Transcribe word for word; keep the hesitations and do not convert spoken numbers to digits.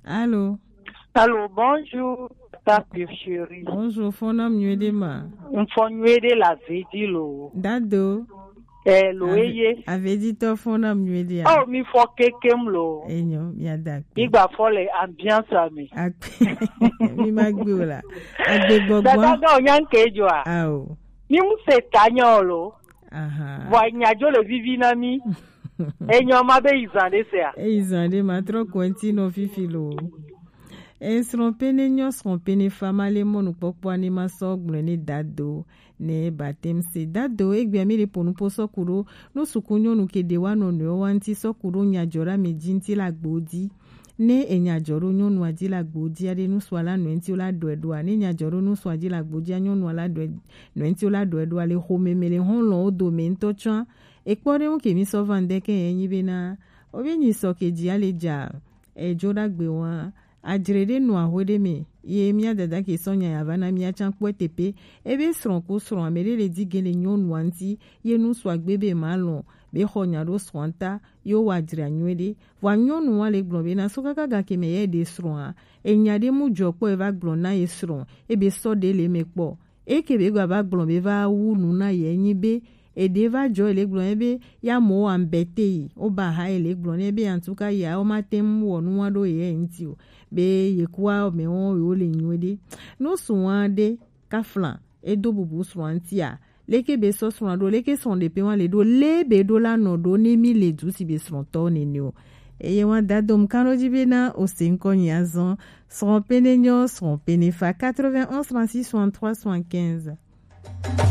Allô? Allô, bonjour, ta pure chérie. Bonjour, fɔna mi nyuie ɖe ma. N fɔ nyuie ɖe la vedi lo. Dado. Eh, lo eye. Aveditɔ fɔna mi nyuie ɖe. Oh, mi fɔ kekem lo. Enyo, mi ada akpe. Mi gba fɔ le ambiance me. Akpe. Mi ma gbe o la. Agbe gbɔgbɔ. Dada ga o nyan ke jo a. Ao. Mi mu se ta nyo lo. Aha. Vɔ nya jo le vivi na mi. Enyo ma be izan de se a. E izan de ma trɔ kɔnti no fifi lo. Esrɔ̃ pene nyɔ srɔ̃ pene fa ma le mɔnu kpɔkpɔ ani ma sɔ gblɔ ne dado ne batem se dado egbea mi le ponu po sɔ ku ɖo nu suku nyɔnu ke de wa nɔ nɔe wa ŋti sɔ ku ɖo nya jɔ ɖa me dzi ŋti la gbo dzi. Ne enya jɔ ɖo nyɔnua dzi la gbo dzia ɖe nusua la nɔe ŋti wo la ɖɔe ɖoa ne enya jɔ ɖo nusua dzi la gbo dzia nyɔnua la ɖɔe nɔe ŋti wo la ɖɔe ɖoa le xome me le hɔn lɔ wo dome ŋtɔ tsɔa. Ekpɔ ɖe ŋu ke mi sɔ va ŋdɛ ke enyi bena obi nyi sɔ ke dzi ale dza edzo ɖagbe wa. Adzre ɖe nɔ axwe ɖe me ye mía dada ke sɔ nya ya va na mía tsã kpɔe tepe. Ebe srɔ̃ ku srɔ̃ ame ɖe le di ge le nyɔnua ŋti ye nu sɔ agbe be ma lɔ̃ be xɔ nya ɖo srɔ̃a ta ye wo wa adzre anyuie ɖe. Vɔa nyɔnu wa le gblɔ be na so kaka gake me ye ɖe srɔ̃a enya ɖe mu dzɔ kpɔ eva gblɔ na ye srɔ̃ ebe sɔ ɖe le me kpɔ. Eke be gba va gblɔ be va wu nu na ye nyi be eɖe va jɔ ele gblɔ ne be ya mo wa mbete yi o ba ha ele gblɔ ne be antuka ya o ma te mu wɔ nu wa ɖo ye ŋti o be ye kua me wo yo le nyuie ɖe. No su wa ɖe kafla edo bubu srɔ̃a ŋtia leke be sɔ srɔ̃a ɖo leke srɔ̃ ɖe pe wa le ɖo le be ɖo la nɔ ɖo ne mi le du si be srɔ̃tɔ nene o. Eye wa da dom kano dzi be na o se ŋkɔ nyi azɔ srɔ̃ pene nyɔ srɔ̃ pene fa quatre-vingt-onze trente-six soixante-trois soixante-quinze.